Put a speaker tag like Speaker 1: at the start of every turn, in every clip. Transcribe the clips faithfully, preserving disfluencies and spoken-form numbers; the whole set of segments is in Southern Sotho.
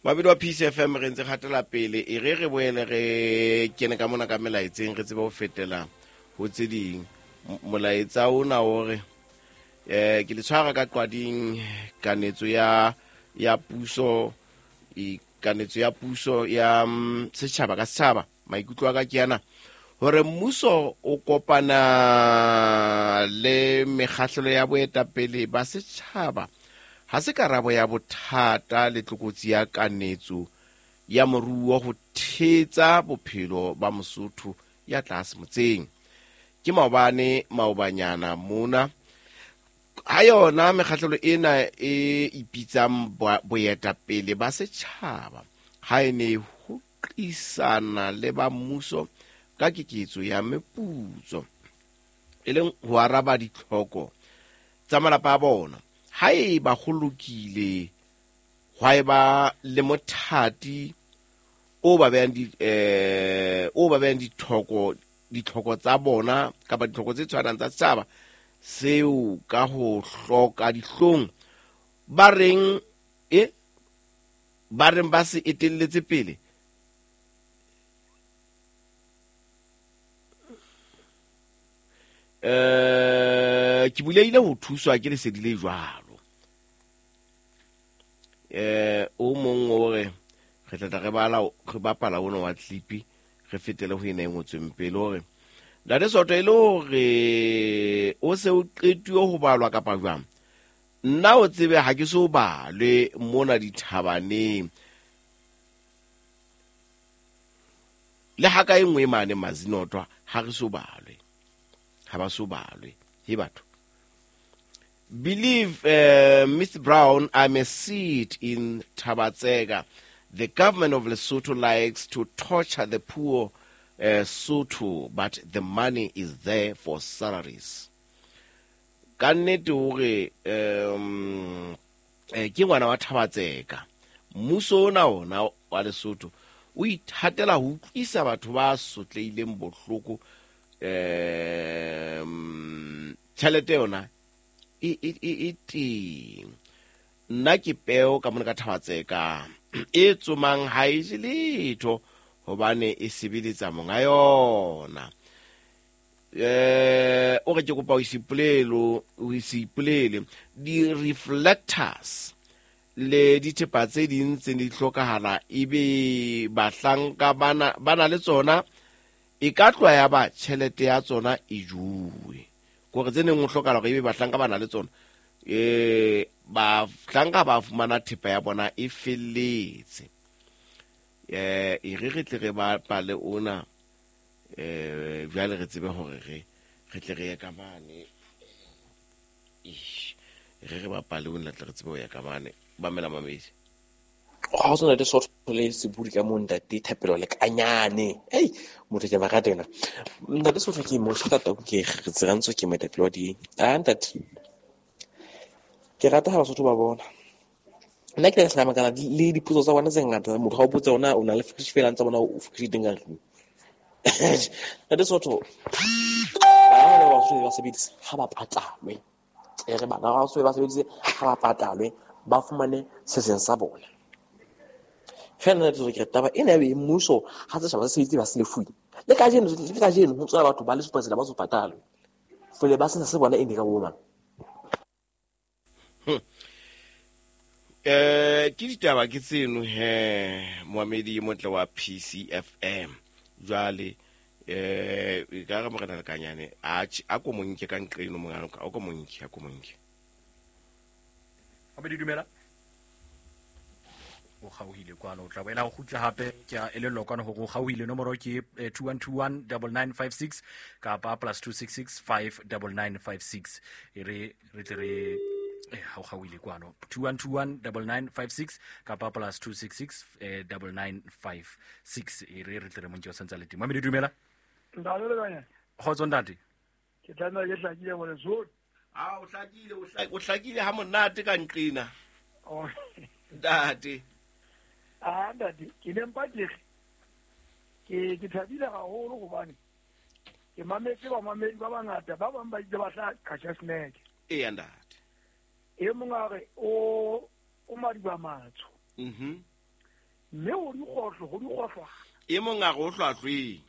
Speaker 1: Mabedi wa P C F M re ntse kgatela pele e re re boele re kene ka mona ka melaetseng re tsebe ho fetela ho tse ding. Molaetsa ona o re eh ke le tshwara ka qwading kanetso ya ya puso e kanetso ya puso ya setjhaba ka setjhaba. Maikutlo a ka ke ana hore mmuso o kopana le mekgahlelo ya boetapele ba setjhaba ha se karabo ya bothata le tlokotsi ya kanetso ya moruo ho thetsa bophelo ba Mosotho ya tlase motseng. Ke maobane maobanyana mona ha yona mekgahlelo ena e ipitsang boetapele ba setjhaba ha e ne ho qisana le ba mmuso ka keketso ya meputso e leng ho araba ditlhoko tsa malapa a bona. Haeba go lokile hwa eba le mothati o ba behang di eh o ba behang ditlhoko ditlhoko tsa bona kapa ditlhoko tse tshwanang tsa setjhaba seo ka ho hloka dihlong ba reng e ba reng ba se etelletse pele. Eh ke buleile ho thuswa ke lesedi le jwalo. Eh o mong o re re tla re bala re bapala ona wa clip re fetele ho ena e ngotsweng pele hore Ntate Soto e le hore o se o qetuwe ho balwa kapa jwang. Nna o tsebe ha ke so balwe mona dithabaneng le ha ka e nngwe mane Mazinotwa ha re so balwe. Ha ba so balwe he batho. Believe uh, Mister Brown, I'm a seat in Tabatsega. The government of Lesotho likes to torture the poor uh, Sotho, but the money is there for salaries. Ka nnete hore um ke ngwana wa Tabatsega. Mmuso ona ona wa Lesotho o ithatela ho utlwisa batho ba sotleileng bohloko um tjhelete yona e e e teng. Nna ke peo ka mona ka Tabatseka e tsomang ha e je letho hobane e sebeletsa monga yona. Eh o re ke kopa o isipolelo o isipolele di reflectors le dithepa tse ding tse di hlokahala ebe bahlanka bana bana le tsona e ka tloha ya ba tjhelete ya tsona e juwe. Kore tse neng o hlokahala hore ebe bahlanka bana le tsona eh bahlanka ba fumana thepa ya bona e felletse. Eh e re re tle re bapale ona eh jwale re tsebe hore re re tle re ye ka mane. Re re bapale ona tle re tsebe ho ya ka mane. Ba mela mamedi.
Speaker 2: Ga o tsona le Sotho le sebudi ka mo ntate Thapelo le kanyane. Ei motho ke ba rata yena. Ntate Sotho ke mo tata ke re tsirantso ke moetapele wa di. Ah ntate. Ke rata ha Basotho ba bona. Nna ke tla makala le dipotso tsa bona tse ngata motho ha o botsa ona o na le fresh fela ntse bona o fresh teng ka tlung. Ntate Sotho bana ba Basotho ba sebedisa ha ba patalwe. E re bana ba Basotho ba sebedise ha ba patalwe ba fumane se seng sa bona. Fela nna ke re taba ena ya mmuso ha setjhaba se sebeditse ba se lefuwe. Le kajeno le kajeno ho tswa batho ba le supa tsela ba so patalwe. Fole ba sena se bona e ne ka bo mang.
Speaker 1: Eh ke ditaba ke tseno he moamedi motle wa P C F M. Jwale eh e ka re morena Lekanyane a a ko monke ka nqeno mongana o ko monke a ko monke.
Speaker 3: Abedi dumela. O kgaohile kwano o tla boela ho kgutla hape ke a elellwa kwano hore o kgaohile nomoro ke two one two one nine nine five six kapa plus two six six five nine nine five six e re re tle re eh ha o kgaohile kwano two one two one nine nine five six kapa plus two six six nine nine five six e re re tle re montse o santsa le teng. Mamedi dumela.
Speaker 4: Ntate le kanya.
Speaker 3: Kgotso ntate.
Speaker 4: Ke tla ke hlakile bole so.
Speaker 1: Ah o hlakile o hlakile ha monate ka nqina.
Speaker 4: Oh
Speaker 1: ntate.
Speaker 4: Ah ntate ke ne mpa ke ke ke thabile haholo hobane ke mametse ba mamedi ba bangata ba bang ba itse ba tla qasha snack.
Speaker 1: Eh ntate.
Speaker 4: E mong a re o o madiba matsho.
Speaker 1: Mhm.
Speaker 4: Mme o dikgohlo go dikgohlwana.
Speaker 1: E mong a go hlwahlweng.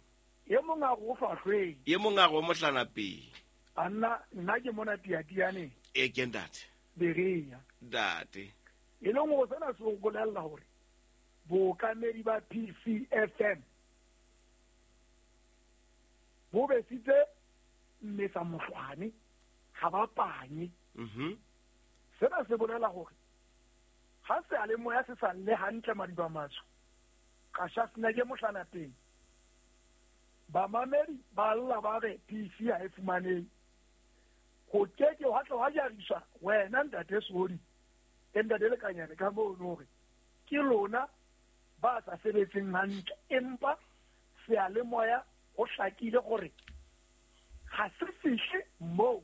Speaker 4: E mong a go hlwahlweng.
Speaker 1: E mong a go mohlana pele.
Speaker 4: Anna nna ke mona tiatiane.
Speaker 1: E ke ntate.
Speaker 4: Berea.
Speaker 1: Ntate.
Speaker 4: E leng go sena se go bolella hore bookamedi ba P C F M bo besitse mmesa mohlwane ga ba panye.
Speaker 1: Mhm.
Speaker 4: Sena se bolela hore ha se a le moya se sa le hantle madiba matsho ka sha sena ke mohlana teng. Bamamedi ba lla ba re P C ha e fumaneng. Ho keke wa tla wa jariswa wena ntate Sodi e ntate Lekanyane ka mono hore ke lona ba sa sebetseng hantle empa seyalemoya ho hlakile hore ha se fihle moo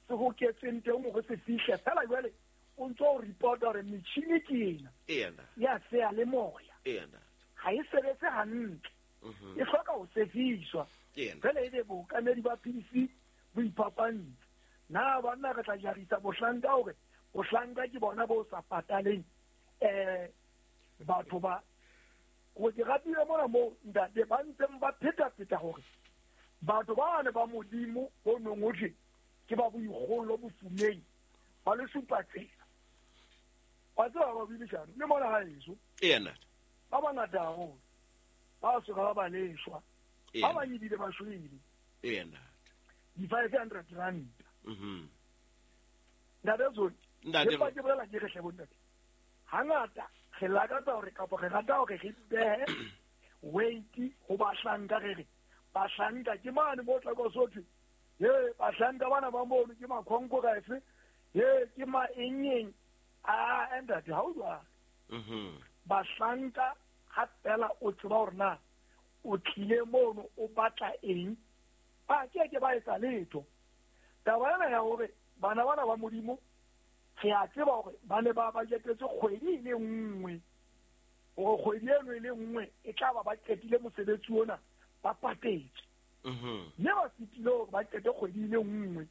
Speaker 4: se hoketseng teng hore se fihle fela jwale o ntso o report hore metjhini ke ena ya seyalemoya ha e sebetse hantle e hloka ho sefiswa fela ebe bookamedi ba P C bo iphapantse. Na banna re tla jarisa bohlanka hore bohlanka ke bona bo sa pataleng eh batho ba go ke ratile mona mo ntate ba ntseng ba pheta-pheta hore batho ba ne ba Modimo ho nong ho thwe ke ba boikgolo bofumeng ba le supa tsela. Wa tseba ba buile jang le mona ha eso
Speaker 1: ena
Speaker 4: ba bangata haholo ba soka ba ba leshwa ba bang ebile ba shwele
Speaker 1: ena
Speaker 4: di five hundred rand.
Speaker 1: Mhm.
Speaker 4: Ntate Zoli,
Speaker 1: ntate
Speaker 4: ke ke bolela ke re hle bontate. Hangata re lakatsa hore kapa re rata hore re behe weight ho bahlanka re re bahlanka ke mane mo tla go sothwe ye bahlanka bana ba mono ke makhonko ka efe ye ke ma eng a ntate ha o jwalo.
Speaker 1: Mhm.
Speaker 4: Bahlanka ha fela o tseba hore na o tlile mono o batla eng ba ke ke ba etsa letho. Taba ena ya hore bana bana ba Modimo re a tseba hore ba ne ba bajetetse kgwedi e le nngwe hore kgwedi eno e le nngwe e tla ba ba qetile mosebetsi ona ba patetse.
Speaker 1: Mhm.
Speaker 4: Mme ba fetile hore ba qete kgwedi e le nngwe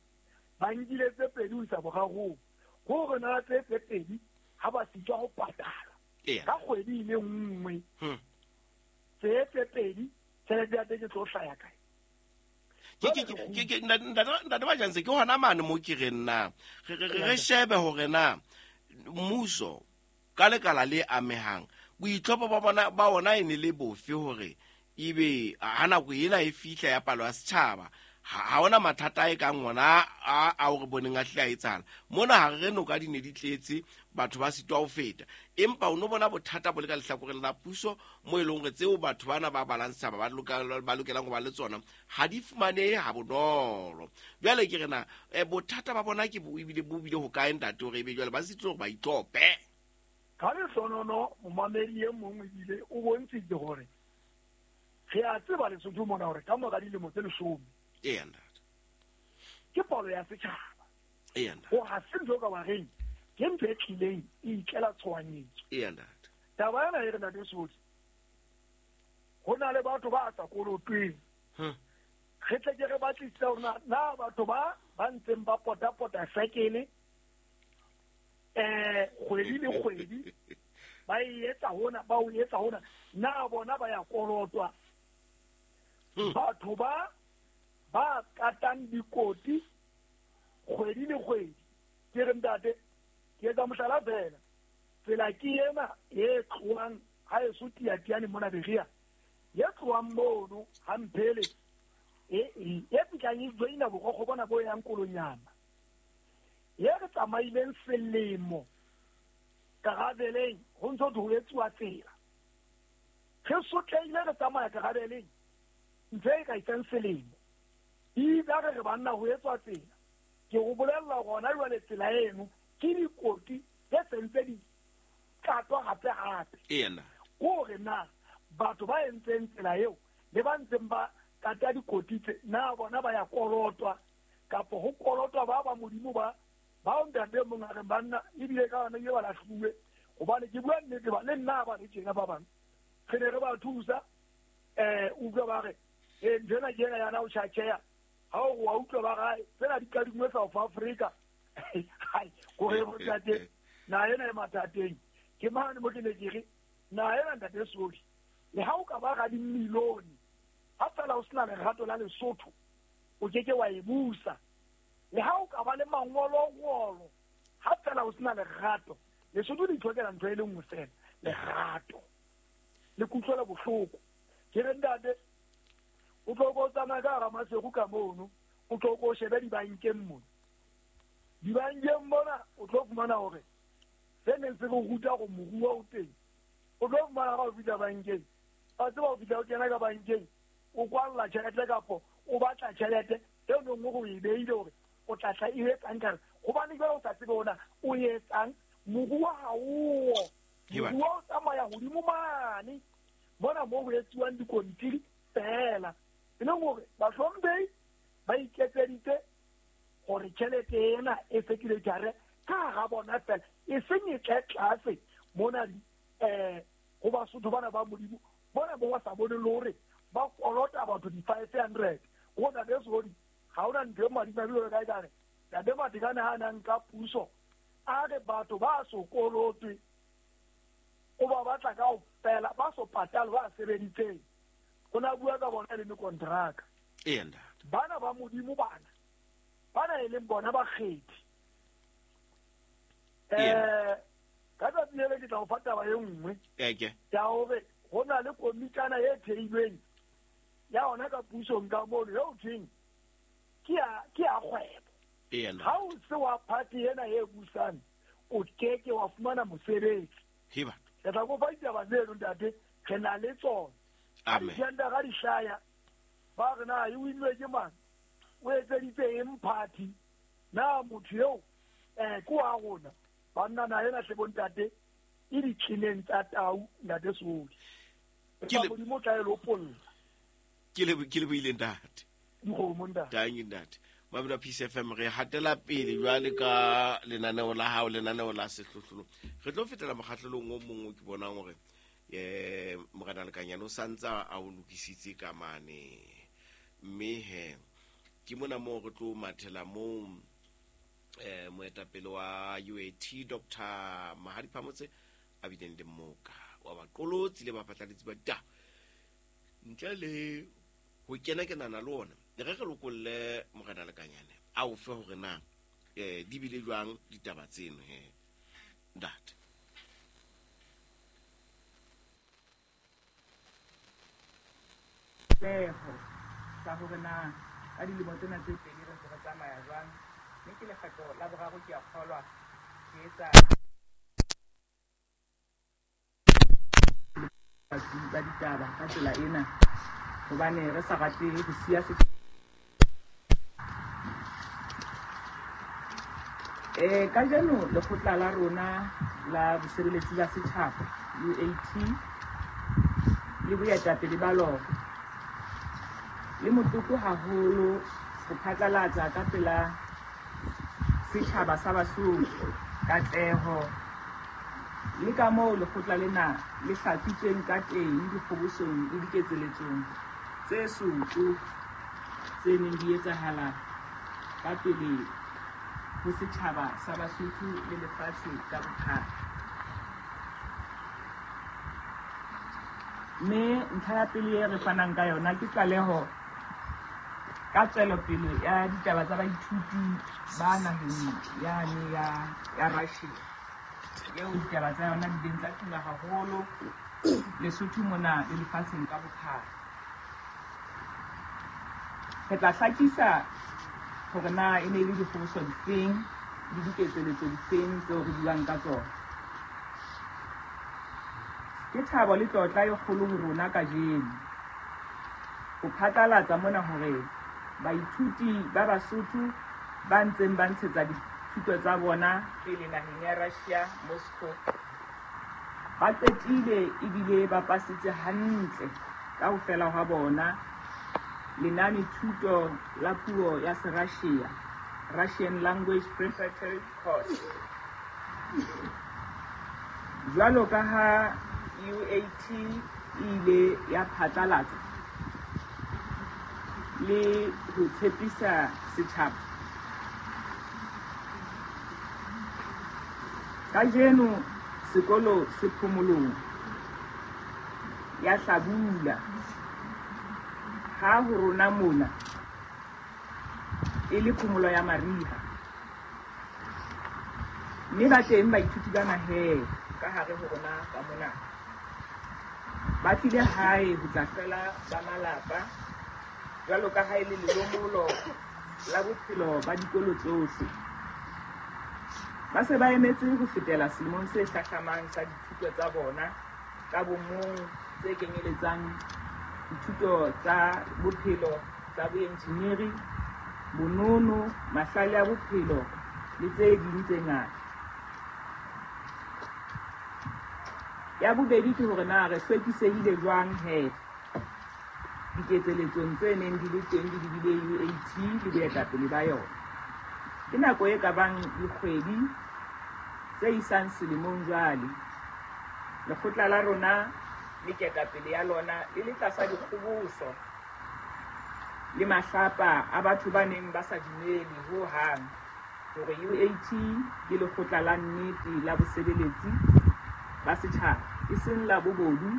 Speaker 4: ba nkile tse pedi ho isa borarong hore na tse tse pedi ha ba sitwa ho patala ka kgwedi e le nngwe tse tse pedi tjhelete ya teng e tlo hlaya kae?
Speaker 1: Ke ke ke ke ntate ba jantse ke hona mane mo ke re nna re re shebe hore na mmuso ka lekala le amehang boitlhopo ba bona ba ona e ne le bofe hore ebe ha nako ena e fihla ya palo ya setjhaba ha ona mathata e kang ona a a o re boneng a hle a etsahala mona ha re noka di ne di tletse batho ba sitwa ho feta empa o no bona bothata bo le ka lehlakoreng la puso mo e leng hore tseo batho bana ba balang setjhaba ba lokelang ba lokelang ho ba le tsona ha di fumanehe ha bonolo. Jwale ke re na bothata ba bona ke bo ebile bo bile ho kae ntate hore ebe jwale ba sitwa hore ba itlhope
Speaker 4: ka lehlonono momamedi e mong ebile o bontshitse hore re a tseba Lesotho mona hore ka mora dilemo tse leshome
Speaker 1: ena
Speaker 4: ke palo ya setjhaba
Speaker 1: ena
Speaker 4: ho ha se ntho ka bareng ke ntho e tlileng e itlela tshohanyetso
Speaker 1: ena
Speaker 4: taba ena e re ntate Sodi ho na le batho ba sa kolotweng re tle ke re batlisisa hore na batho ba ba ntseng ba pota-pota sekele eh kgwedi le kgwedi ba e etsa hona ba o etsa hona na bona ba ya kolotwa batho ba ba katang dikoti kgwedi le kgwedi ke re ntate ke etsa mohlala fela tsela ke ena e tlohang ha e so tiatiane mona Berea e tlohang mono ha mphele e e fihlang e joina borokgo bona bo yang Kolonyama e re tsamaileng selemo karabeleng ho ntso ho etsuwa tsela re sotleile re tsamaya karabeleng ntse e ka itseng selemo e re re banna ho etswa tsela ke go bolella gona jwale tsela eno ke dikoti tse sentse di katwa gape gape
Speaker 1: ena
Speaker 4: gore na batho ba entseng tsela eo le ba ntseng ba kata dikoti tse na bona ba ya kolotwa kapo ho kolotwa ba ba Modimo ba ba ntate mong a re banna ebile ka bana ke ba lahluwe hobane ke bua nnete ba le nna ba re tjena ba bang re ne re ba thusa eh utlwa ba re e nthwena ke ena yana o tjhatjheya ha o wa utlwa ba gae tsena di kadingwe South Africa hai gore go tate na ena e mathateng ke mane mo ke ne ke re Naha ena ntate Sodi, le ha o ka ba ga dimilione, ha fela o sena lerato la Lesotho, o ke ke wa e busa. Le ha o ka ba le mangolongolo, ha fela o sena lerato, Lesotho le itlhokela ntho e le nngwe fela, lerato. Le kutlwela bohloko. Ke re ntate, o tlo ko tsamaya ka hara Maseru ka mono, o tlo ko shebe dibankeng mono. Dibankeng mona o tlo fumana hore se neng se re ruta hore moruo o teng. O tlo fumana ha o fihla bankeng, ba tseba o fihla o kena ka bankeng, o kwalla tjhelete kapo o batla tjhelete eo neng o e beile hore o tla tla e etsang ka hobane jwale o sa tsebe hore o etsang. Moruo ha o, moruo o tsamaya hodimo mane mona moo ho etsuwang dikontiri fela. E leng hore bahlomphehi ba iketseditse hore tjhelete ena e sekilejare ka hara bona fela, e seng e tle tlase mona eh ho Basotho bana ba Modimo bona bo ba sa bone le hore ba kolota batho di-five hundred. Ho ntate Sodi, ha hona ntho e madimabe jwalo ka ekare ntate Matekane ha a nka puso a re batho ba so kolotwe, o ba batla kaofela ba so patale ba sebeditseng. O na bua ka bona e le mekontraka.
Speaker 1: Ee ntate.
Speaker 4: Bana ba Modimo bana, bana e leng bona bakgethi. Eh ka tsatsi le ke tla o fa taba e nngwe ya hore ho na le komitana e theilweng ya hona ka pusong ka mono eo thweng ke ya ke ya kgwebo. Ha o se wa party ena e busang, o keke wa fumana mosebetsi. Ke tla kopa ditaba tseno ntate, re na le tsona.
Speaker 1: Amen.
Speaker 4: Dithendara di hlaya, ba re na e winwe ke mang, o etseditse eng party, na motho eo eh ke wa rona. Banna na ena hle bontate e ditjhineng tsa tau ntate Sodi.
Speaker 1: Ke le
Speaker 4: Modimo tla e lopolla.
Speaker 1: Ke le ke le buile ntate.
Speaker 4: Dikgomo ntate.
Speaker 1: Tangi ntate. Mabula Peace F M re hatela pele jwale ka lenaneo la hao, lenaneo la sehlohlolo. Re tlo fetela mokgahlelong o mongwe ke bonang hore eh Morena Lekanyane o santsa a o lokisitse ka mane. Mme he ke mona moo re tlo mathela moo eh moetapele wa U A T Doctor Mahadi Phamotse a bileng le mmoka wa baqolotsi le baphatlalatsi ba ditaba. Ntle le ho kena kenana le ona, re re lokolle Morena Lekanyane a o fe hore na eh di bile jwang ditaba tseno he ntate.
Speaker 5: Leho sa hore na ka dilemo tsena tse pedi re ntse re tsamaya jwang, mme ke lekgetlo la boraro ke a kgolwa ke etsa ba ditaba ka tsela ena hobane re sa rate ho siya se. Eh kajeno lekgotla la rona la bosebeletsi ba setjhaba U A T le boetapele ba lona le motlotlo haholo ho phatlalatsa ka pela setjhaba sa Basotho katleho le ka moo lekgotla lena le hlatsitsweng ka teng dikgobosong le diketseletsong tse soto tse neng di etsahala ka pele ho setjhaba sa Basotho le lefatshe ka bophara. Mme ntlha ya pele e re fanang ka yona ke tlaleho ka tswelopele ya ditaba tsa baithuti ba naheng yane ya ya Russia, eo ditaba tsa yona di ileng tsa tuma haholo Lesotho mona le lefatsheng ka bophara. Re tla hlakisa hore na e ne e le dikgoboso difeng le diketseletso difeng tseo re buang ka tsona. Ke thabo le tlotla e kgolo ho rona kajeno ho phatlalatsa mona hore baithuti ba Basotho ba ntseng ba ntshetsa dithuto tsa bona pele naheng ya Russia, Moscow, ba qetile ebile ba pasitse hantle kaofela hwa bona lenane thuto la puo ya Serussia, Russian Language Preparatory Course. Jwalo ka ha U A T e ile ya phatlalatsa le ho tshepisa setjhaba, kajeno sekolo se phomolong. ya hlabula ha ho rona mona e le phomolo ya mariha. Mme ba teng baithuti ba naheng ka hare ho rona ka mona. Ba tlile hae ho tla hlola ba malapa jwalo ka ha e le lelomolo la bophelo ba dikolo tsohle. Ba se ba emetse ho fetela selemong se hlahlamang sa dithuto tsa bona ka bomong tse kenyeletsang dithuto tsa bophelo tsa boenjineri, bonono, mahlale a bophelo le tse ding tse ngata. Ya bobedi ke hore na re hlwekisehile jwang he diketseletsong tse neng di le teng di lebile U A T le boetapele ba yona. Ke nako e ka bang dikgwedi tse isang selemong jwale. Lekgotla la rona le ketapele ya lona le le tlasa dikgoboso le mahlapa a batho ba neng ba sa dumele ho hang hore U A T ke lekgotla la nnete la bosebeletsi ba setjhaba, e seng la bobodu,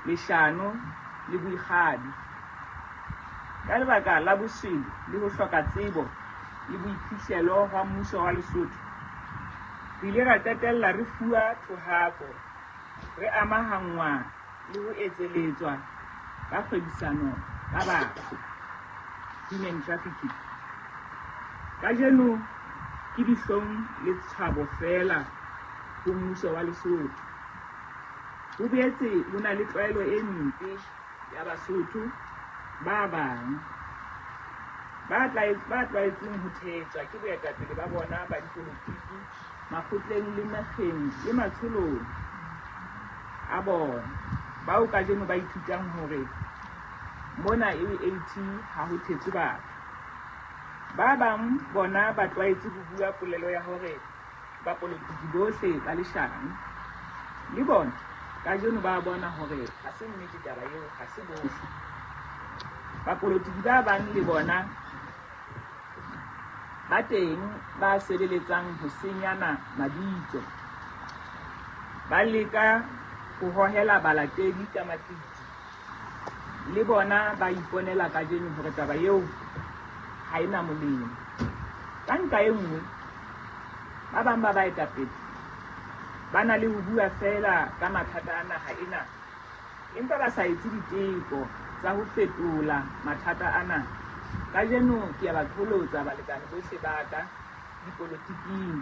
Speaker 5: leshano le boikgabi. Ka lebaka la boswele le ho hloka tsebo le boiphihlelo hwa mmuso wa Lesotho, re ile ra qetella re fuwa thohako, re amahanngwa le ho etseletswa ka kgwebisano ka batho, human trafficking. Kajeno ke dihlong le tshabo feela ho mmuso wa Lesotho. Ho boetse ho na le tlwaelo e mpe ya Basotho ba bang ba tlwaetseng ho thetswa ke boetapele ba bona ba dipolotiki makgotleng le mekgeng le matsholong a bona, bao kajeno ba ithutang hore mona U A T ha ho thetswe batho. Ba bang bona ba tlwaetse ho bua polelo ya hore bapolotiki bohle ba leshano. Le bona kajeno ba bona hore ha se nnete taba eo, ha se bohle. Bapolotiki ba bang le bona ba teng ba sebeletsang ho senyana mabitso, ba leka ho hohela balatedi ka maqiti. Le bona ba iponela kajeno hore taba eo ha ena molemo. Ka nqa e nngwe, ba bang ba baetapele ba na le ho bua feela ka mathata a naha ena, empa ba sa etse diteko tsa ho fetola mathata ana. Kajeno ke a ba qholotsa balekane bohle ba ka dipolotiking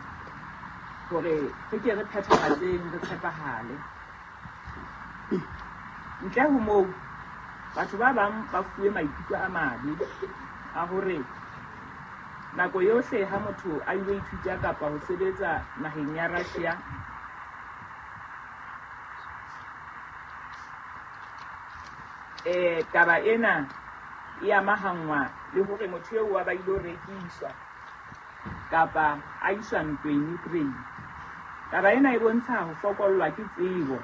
Speaker 5: hore re ke re phethahatseng, re tshepahale. Ntle ho moo, batho ba bang ba fuwe maikutlo a mabe a hore nako yohle ha motho a ilo ithuta kapa ho sebetsa naheng ya Russia, eh taba ena e amahanngwa le hore motho eo wa ba ilo rekiswa kapa a iswa ntweng Ukraine. Taba ena e bontsha ho fokollwa ke tsebo,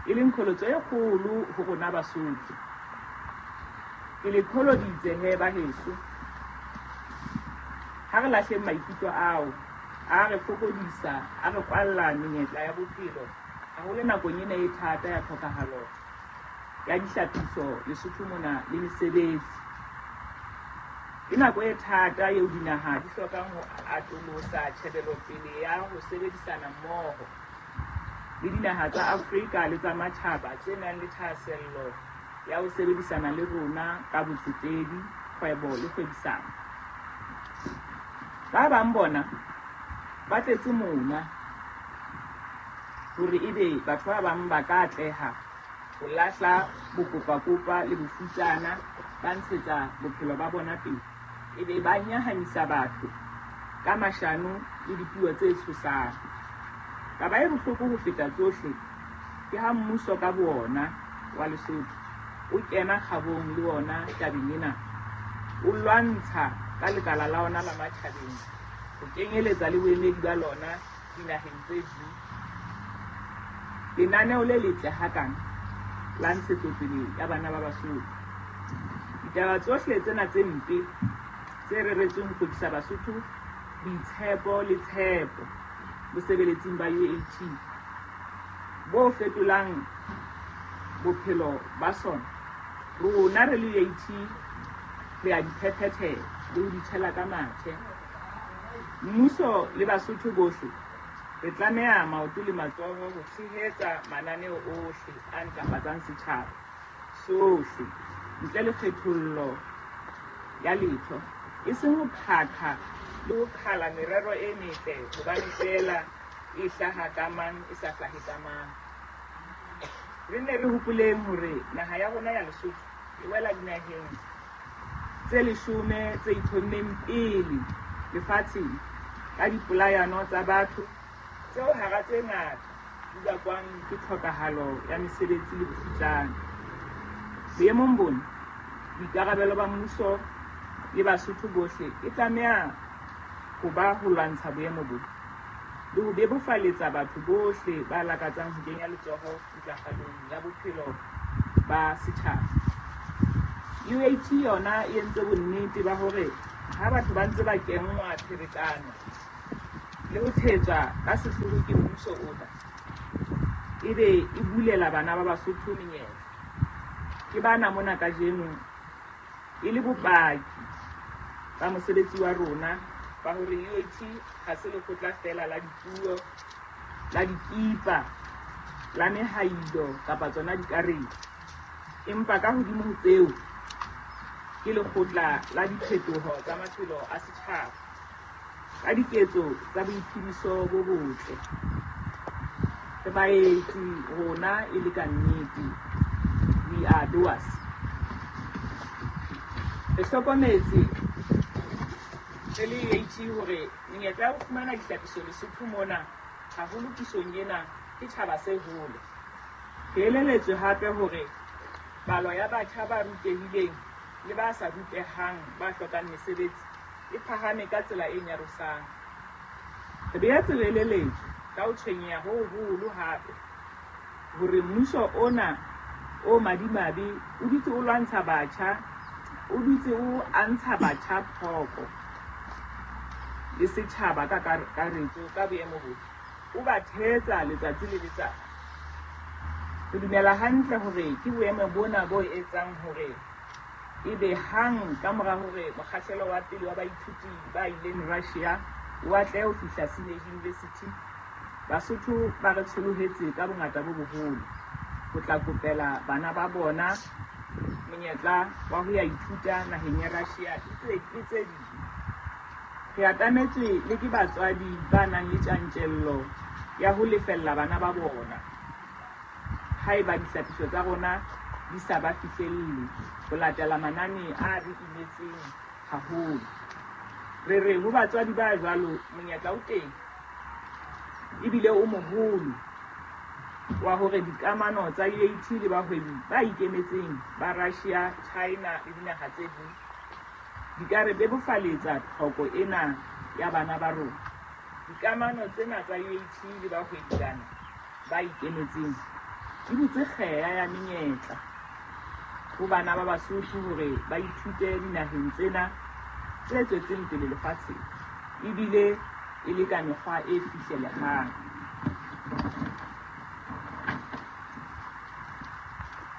Speaker 5: e leng qholotso e kgolo ho rona Basotho. Ke le qholoditse he ba heso. Ha re lahleng maikutlo ao, a re fokodisa, a re kwalla menyetla ya bophelo, haholo nakong ena e thata ya tlhokahalo ya dihlapiso Lesotho mona le mesebetsi. Ke nako e thata eo dinaha di hlokang ho atolosa tjhebelopele ya ho sebedisana mmoho le dinaha tsa Afrika le tsa matjhaba tse nang le thahasello ya ho sebedisana le rona ka botsetedi, kgwebo le kgwebisano. Ba bang bona ba tletse mona hore ebe batho ba bang ba ka atleha ho lahla bokopakopa le bofutsana, ba ntshetsa bophelo ba bona pele, ebe ba nyahamisa batho ka mashano le dipuo tse tshosang. Taba e bohloko ho feta tsohle ke ha mmuso ka boona wa Lesotho o kena kgabong le ona tabeng ena, o lwantsha ka lekala la ona la matjhabeng ho kenyeletsa le boemedi ba lona dinaheng tse ding. Lenaneo le letle hakana la ntshetsopele ya bana ba Basotho. Ditaba tsohle tsena tse mpe tse reretsweng ho hlokisa Basotho boitshepo le tshepo bosebeletsing ba U A T bo fetolang bophelo ba sona, rona re le U A T re a di phephethela le ho di tshela ka mathe. Mmuso le Basotho bohle re tlameha maoto le matsoho ho tshehetsa mananeo ohle a ntlafatsang setjhaba sohle ntle le kgethollo ya letho, e seng ho phakha le ho qhala merero e metle hobane feela e hlaha ka mang e sa hlahe ka mang. Re nne re hopoleng hore naha ya rona ya Lesotho e wela dinaheng tse leshome tse itlhommeng pele lefatsheng ka dipolayano tsa batho tseo hara tse ngata di bakwang ke tlhokahalo ya mesebetsi le bofutsana. Boemong bona, boikarabelo ba mmuso le Basotho bohle e tlameha ho ba ho lwantsha boemo bona le ho bebofaletsa batho bohle ba lakatsang ho kenya letsoho ntlafalong ya bophelo ba setjhaba. U A T yona e entse bonnete ba hore ha batho ba ntse ba kenngwa pherekano le ho thetswa ka sehloho ke mmuso ona, ebe e bulela bana ba Basotho menyetla. Ke bana mona kajeno e le bopaki ba mosebetsi wa rona ba hore U A T ha se lekgotla feela la dipuo, la dikipa, la mehailo kapa tsona dikarete, empa ka hodimo ho tseo ke lekgotla la diphetoho tsa maphelo a setjhaba ka diketso tsa boiphediso bo botle. Re baetsi rona e le ka nnete, we are doers. Re hlokometse re le U A T hore menyetla ya ho fumana dihlapiso Lesotho mona, haholo pusong ena, ke tjhaba se hole. Re elelletswe hape hore palo ya batjha ba rutehileng le ba sa rutehang ba hlokang mesebetsi e phahame ka tsela e nyarosang. Re boetse re elelletswe ka ho tshwenyeha ho hoholo hape hore mmuso ona o madimabe o dutse o lwantsha batjha, o dutse o antsha batjha phoko le setjhaba ka kakaretso ka boemo bona, o ba thetsa letsatsi le letsatsi. Re dumela hantle hore ke boemo bona bo etsang hore ebe hang ka mora hore mokgahlelo wa pele wa baithuti ba ileng Russia o atlehe ho fihla Sydney University, Basotho ba re tsholohetse ka bongata bo boholo ho tla kopela bana ba bona monyetla wa ho ya ithuta naheng ya Russia le tse ding. Re atametswe le ke batswadi ba nang le tjantjello ya ho lefella bana ba bona haeba dihlapiso tsa rona di sa ba fihlelle ho latela manane a re imetseng haholo. Re re ho batswadi ba jwalo monyetla o teng ebile o moholo wa hore dikamano tsa U A T le bahwebi ba ikemetseng ba Russia, China le dinaha tse ding di ka re bebofaletsa tlhoko ena ya bana ba rona. Dikamano tsena tsa U A T le bahwebi bana ba ikemetseng di butse kgeya ya menyetla ho bana ba Basotho hore ba ithute dinaheng tsena tse tswetseng pele lefatsheng, ebile e le ka mekgwa e fihlelehang.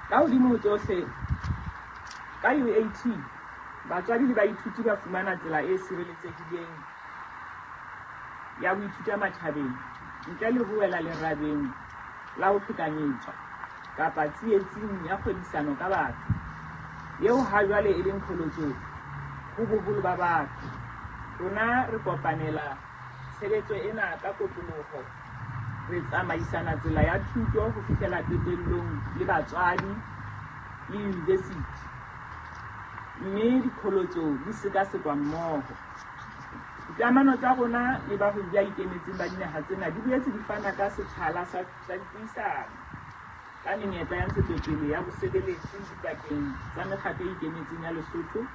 Speaker 5: Ka hodimo ho tsohle, ka U A T batswadi le baithuti ba fumana tsela e sireletsehileng ya ho ithuta matjhabeng ntle le ho wela lerabeng la ho qhekanyetswa kapa tsietsing ya kgwebisano ka batho, eo ha jwale e leng qholotso ho boholo ba batho. Rona re kopanela tshebetso ena ka kotloloho, re tsamaisana tsela ya thuto ho fihlela qetellong le batswadi le university, mme diqholotso di sekasekwa mmoho. Dikamano tsa rona le bahwebi ba ikemetseng ba dinaha tsena di boetse di fana ka sethala sa dipuisano ka menyetla ya ntshetsopele ya bosebeletsi dipakeng tsa mekgatlo e ikemetseng ya Lesotho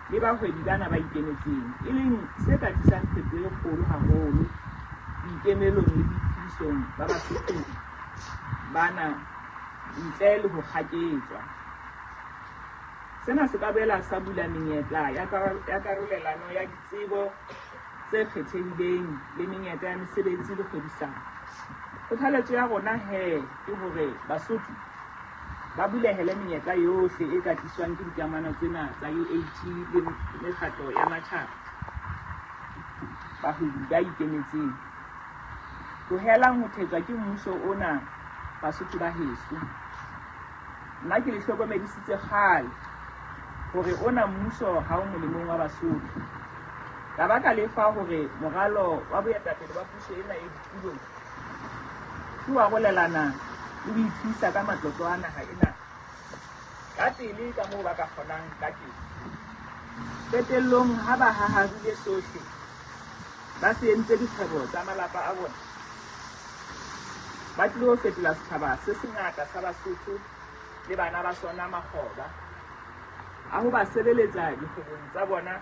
Speaker 5: le bahwebi bana ba ikemetseng, e leng se ka tlisang phetoho e kgolo haholo boikemelong le boiphedisong ba Basotho bana ntle le ho kgaketswa. Sena se ka boela sa bula menyetla ya karolelano ya ditsebo tse kgethehileng le menyetla ya mesebetsi le kgwebisano. Kgothaletso ya rona he ke hore Basotho ba bulehele menyetla yohle e ka tliswang ke dikamano tsena tsa U A T le mekgatlo ya matjhaba, bahwebi ba ikemetseng. Tlohelang ho thetswa ke mmuso ona, Basotho ba heso. Nna ke le hlokomedisitse kgale hore ona mmuso ha o molemong wa Basotho. Ka baka lefa hore moralo wa boetapele ba puso ena e ditulong ke wa arolelana le ho ithuisa ka matlotlo a naha ena ka pele ka moo ba ka kgonang ka teng. Qetellong ha ba haharile sohle, ba se entse dikgwebo tsa malapa a bona, ba tlilo fetola setjhaba se sengata sa Basotho le bana ba sona makgoba a ho ba sebeletsa dikgwebong tsa bona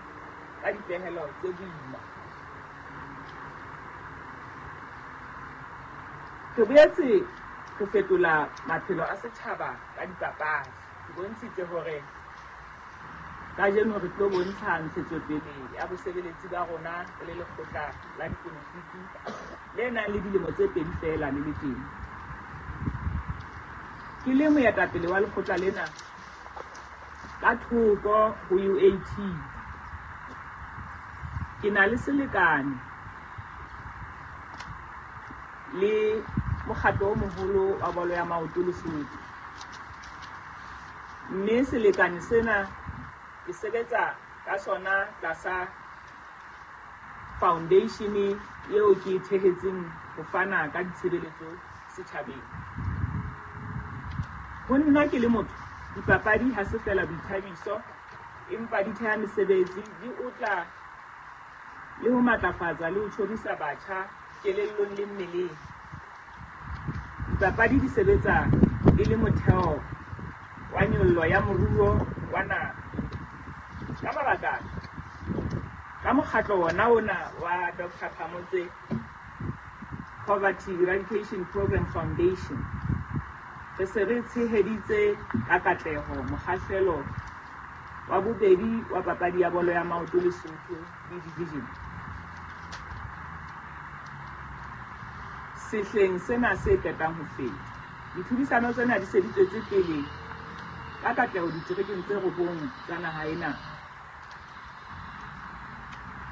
Speaker 5: ka dipehelo tse boima. Re boetse re fetola maphelo a setjhaba ka dipapadi. Ke bontshitse hore kajeno re tlo bontsha ntshetsopele ya bosebeletsi ba rona re le lekgotla la dikomitiki le nang le dilemo tse pedi feela le le teng. Ke le moetapele wa lekgotla lena ka thoko ho U A T, ke na le selekane le mokgatlo o moholo wa bolo ya maoto Lesotho, mme selekane sena ke sebetsa ka sona tlasa foundation eo ke e thehetseng ho fana ka ditshebeletso setjhabeng. Ho nna ke le motho, dipapadi ha se feela boithabiso, empa di theha mesebetsi, di otla le ho matlafatsa le ho tjhorisa batjha kelellong le mmeleng. Dipapadi di sebetsa e le motheo wa nyollo ya moruo wa naha. Ka mabaka ana, ka mokgatlo wona ona wa Doctor Phamotse Poverty Eradication Program Foundation, re se re tsheheditse ka katleho mokgahlelo wa bobedi wa papadi ya bolo ya maoto Lesotho B Division sehleng sena se qetang ho feta. Ditlhodisano tsena di se di tswetse pele ka katleho diterekeng tse robong tsa naha ena.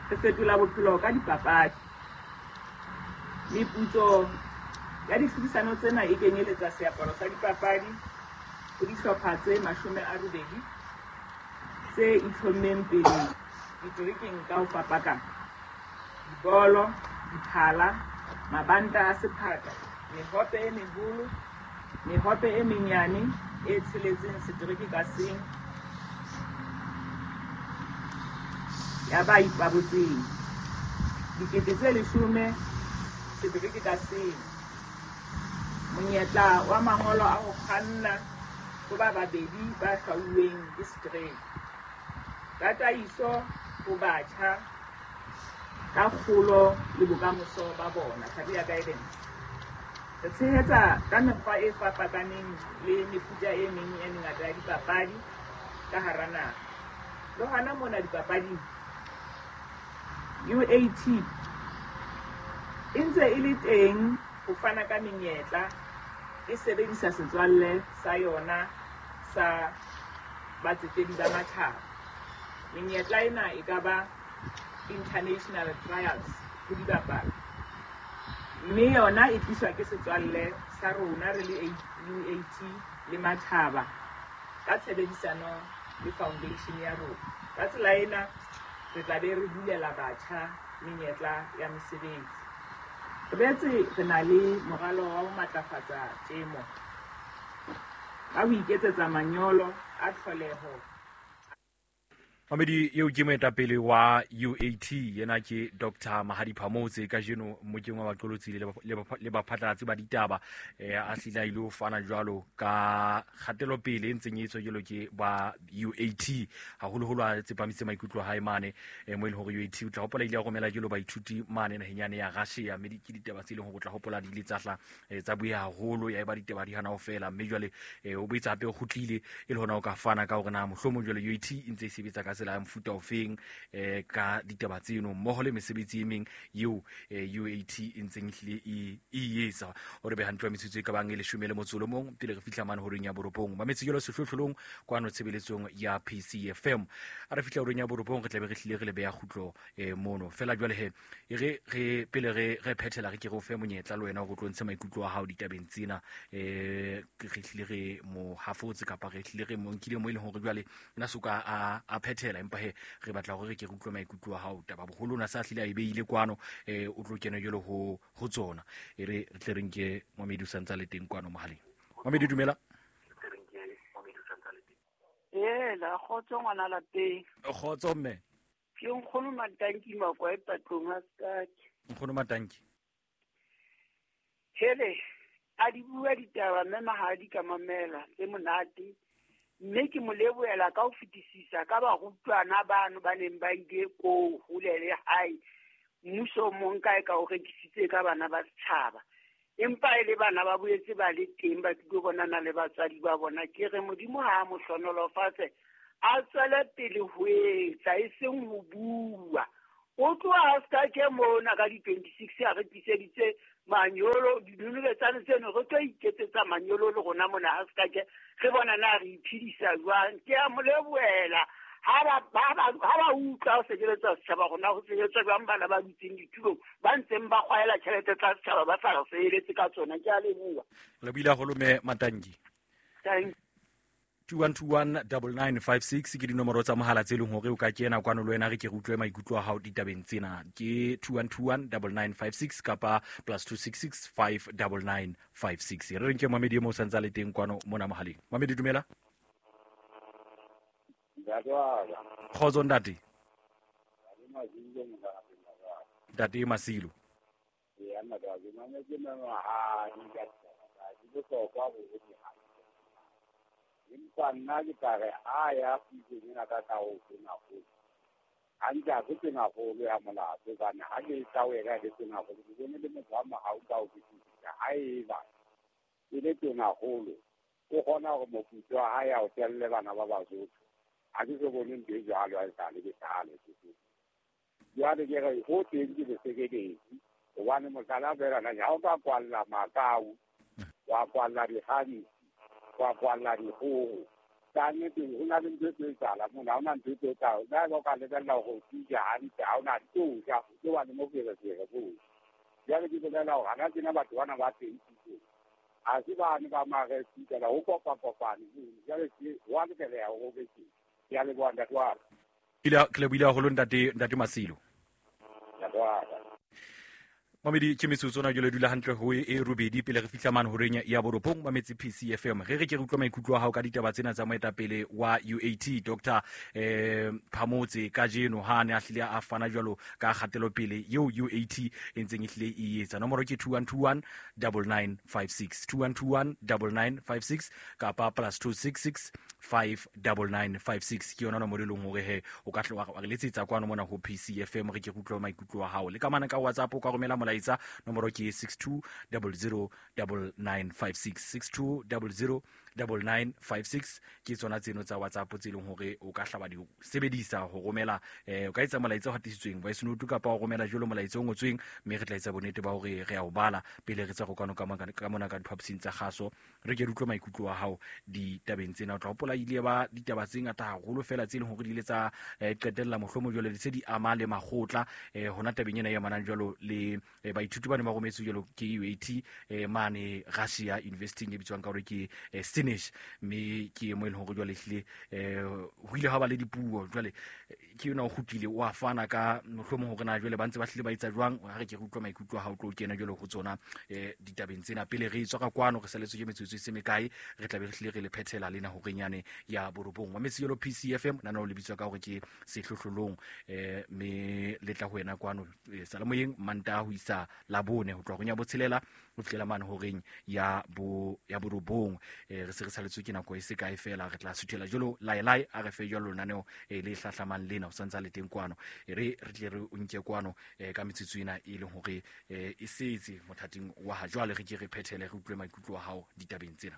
Speaker 5: Re fetola bophelo ka dipapadi. Meputso ya ditlhodisano tsena e kenyeletsa seaparo sa dipapadi ho dihlopha tse mashome a robedi tse itlhommeng pele diterekeng ka ho fapakana: dibolo, diphala, mabanta a sephaka, mehope e meholo, mehope e menyane e tsheletseng setereke ka seng ya ba ipabotseng, dikete tse leshome setereke ka seng, monyetla wa mangolo a ho kganna ho ba babedi ba hlwauweng ke setereke, tataiso ho batjha ka kgolo le bokamoso ba bona, career guidance. Re tshehetsa ka mekgwa e fapakaneng le mefuta e meng e mengata ya dipapadi ka hara naha. Le hona mona dipapading, U A T e ntse e le teng ho fana ka menyetla, e sebedisa setswalle sa yona sa batsetedi ba matjhaba. Menyetla ena e ka ba international trials ho dibapadi, mme yona e tliswa ke setswalle sa rona re le U A T le matjhaba ka tshebedisano le foundation ya rona. Ka tsela ena re tla be re bulela batjha menyetla ya mesebetsi. Re boetse re na le moralo wa ho matlafatsa temo ka ho iketsetsa manyolo a tlholeho.
Speaker 3: Mamedi eo ke moetapele wa U A T, yena ke Doctor Mahadi Phamotse. Kajeno mmokeng wa baqolotsi le baphatlalatsi ba ditaba eh, a hlile a ile ho fana jwalo ka kgatelopele e ntseng e etswa jwalo ke ba U A T, haholoholo a tsepamise maikutlo a hae mane eh, mo e leng hore U A T o tla hopola ile a romela jwalo baithuti mane naheng yane ya Russia, mme ke ditaba tse leng hore o tla hopola di ile tsa hla eh, tsa bueha haholo, ya eba ditaba di hana ho fela. Mme jwale eh, o boetse hape o kgutlile e le hona o ka fana ka hore na mohlomong jwale U A T e ntse e sebetsa ka tsela ya mofuta ofeng eh ka ditaba tseno mmoho le mesebetsi e meng eo U A T e ntseng ehlile e e etsa hore be hantle metsotso e ka bang e leshome le motso o mong pele re fihla mane horeng ya borobong. Mametse jalo sehlohlolong kwano tshebeletsong ya P C F M. A re fihla horeng ya borobong re tlabe re hlile re le beya kgutlo eh mono fela jwale he e re re pele re re phethela re ke re o fe monyetla le wena hore o tlo ntshe maikutlo a hao ditabeng tsena eh re hlile re mo hafotse kapa re hlile re mo nkile mo e leng hore jwale nna soka a a phethela empa he re batla hore re ke re utlwe maikutlo a hao taba boholo na sa hlile a e beile kwano eh o tlo kena jwalo ho ho tsona e re re tle re nke Mamedi o santsa le teng kwano mohaleng. Mamedi dumela.
Speaker 6: Ela kgotso ngwana lapeng.
Speaker 3: Kgotso mme.
Speaker 6: Ke nkgono Matanki Makwa e patlong a Skake.
Speaker 3: Nkgono Matanki.
Speaker 6: Hele, a di bua ditaba mme mahadi ka mamela tse monate. Mme ke mo lebohela ka ho fetisisa ka barutwana bano ba neng ba ile ko hole le hae. Mmuso o mong kae ka o rekisitse ka bana ba setjhaba. Empa e le bana ba boetse ba le teng ba tlilo bonana le batswadi ba bona. Ke re Modimo ha a mo hlonolofatse a tswele pele ho etsa e seng ho bua. O tloha a ska ke mona ka di twenty-six a re tliseditse manyolo dinonobetsane tseno re tlo iketsetsa manyolo le rona mona ha ska ke re bona na re iphedisa jwang. Ke a mo lebohela ha ba ba ha ba utlwa ho sebeletsa setjhaba rona ho sebetsa jwang bana ba dutseng ditulong ba ntseng ba kgwaela tjhelete tsa setjhaba ba sa re sebeletse ka tsona. Ke a leboha.
Speaker 3: Le buile haholo mme Matanki.
Speaker 6: Thank
Speaker 3: two one two one nine nine five six ke dinomoro tsa mohala tse leng hore o ka kena kwano le wena re ke re utlwe maikutlo a hao ditabeng tsena. Ke two one two one nine nine five six kapa plus two six six five nine nine five six. Re reng ke Mamedi mo santsa le teng kwano mona mohaleng. Mamedi dumela. Kgotso ntate. Ntate Masilo.
Speaker 7: Empa nna ke tla re ha ya pusong ena ka ka ho tonakgolo hantle ha se tonakgolo ya molato hobane ha ke tla ho ena le tonakgolo ke bone le motho wa mohau ka ho fetisisa. Ha eba e le tonakgolo o kgona hore moputso wa hae a o telle bana ba Basotho. Ha ke so bone ntho e jwalo ha e sale ke tlhale. Jwale ke re ho teng ke bosekeletsi hobane mohlala fela na ha o ka kwalla makau wa kwalla dikgantsi wa kwalla dikgoho ka nnete ho na le ntho e tlo etsahala mona. Ha hona ntho e tlo etsahala le ha o ka lebella hore o tija hantle ha hona tlo ja o tlo ba le moferefere foo. Jwale ke bolela hore hana tjena batho bana ba teng pusong ha se bane ba maresitela ho kopakopane. Jwale ho a lokeleha hore o be teng. Ke a leboha ntate wa ka.
Speaker 3: Ke lebohile haholo ntate ntate Masilo.
Speaker 7: Ntate wa ka.
Speaker 3: Mamedi ke metsotso na jole dula hantle ho e robedi pele re fihla mane horeng ya borobong mametse P C F M. Re re ke re utlwa maikutlo a hao ka ditaba tsena tsa moetapele wa U A T Doctor eh Phamotse kajeno ha ne a hlile a fana jwalo ka kgatelopele eo U A T e ntseng e hlile e etsa. Nomoro ke two one two one nine nine five six two one two one nine nine five six kapa plus two six six five nine nine five six ke yona nomoro e leng hore he o ka tla wa re letsetsa kwano mona ho P C F M re ke re utlwa maikutlo a hao. Le ka mana ka WhatsApp o ka romela molaetsa nomoro ke six two zero zero nine nine five six six two zero zero nine nine five six ke tsona tseno tsa WhatsApp tse leng hore o ka hlaba di sebedisa ho romela eh o ka etsa molaetsa o hatisitsweng voice note kapa o romela jolo molaetsa o ngotsweng mme re tla etsa bonnete ba hore re a o bala pele re tsa go kwano ka ka mona ka diphapusing tsa kgaso re ke re utlwe maikutlo a hao ditabeng tsena. O tla hopola ile ba ditaba tse ngata haholo fela tse leng hore di ile tsa qetella mohlomo jwalo le tse di ama le makgotla eh hona tabeng ena ya manang jwalo le baithuti ba ne ba rometswe jwalo ke U A T eh mane Russia University e bitswang ka hore ke Sinish mme ke mo e leng hore jwale ehlile eh ho ile ha ba le dipuo jwale ke yona o kgutlile o a fana ka mohlomong hore na jwale ba ntse ba hlile ba etsa jwang. Ha re ke re utlwa maikutlo a hao tlo kena jwalo ho tsona eh ditabeng tsena pele re tswa ka kwano re saletswe ke metsotso e se mekae re tla be re hlile re le phethela lena horenyane ya borobong wa metse jalo P C F M nana o le bitswa ka hore ke sehlohlolong eh me le tla ho wena kwano salemoyeng Manta ho isa Labone ho tloha ya botshelela ho fihlela mane horeng ya bo ya borobong eh re se re saletswe ke nako e se kae fela re tla suthela jalo laelai a re fe jalo lenaneo le hlahlamang lena o santsa le teng kwano e re re tle re o nke kwano ka metsotso ena e leng hore e setse mothating wa ha jwale re ke re phethele re utlwe maikutlo a hao ditabeng tsena.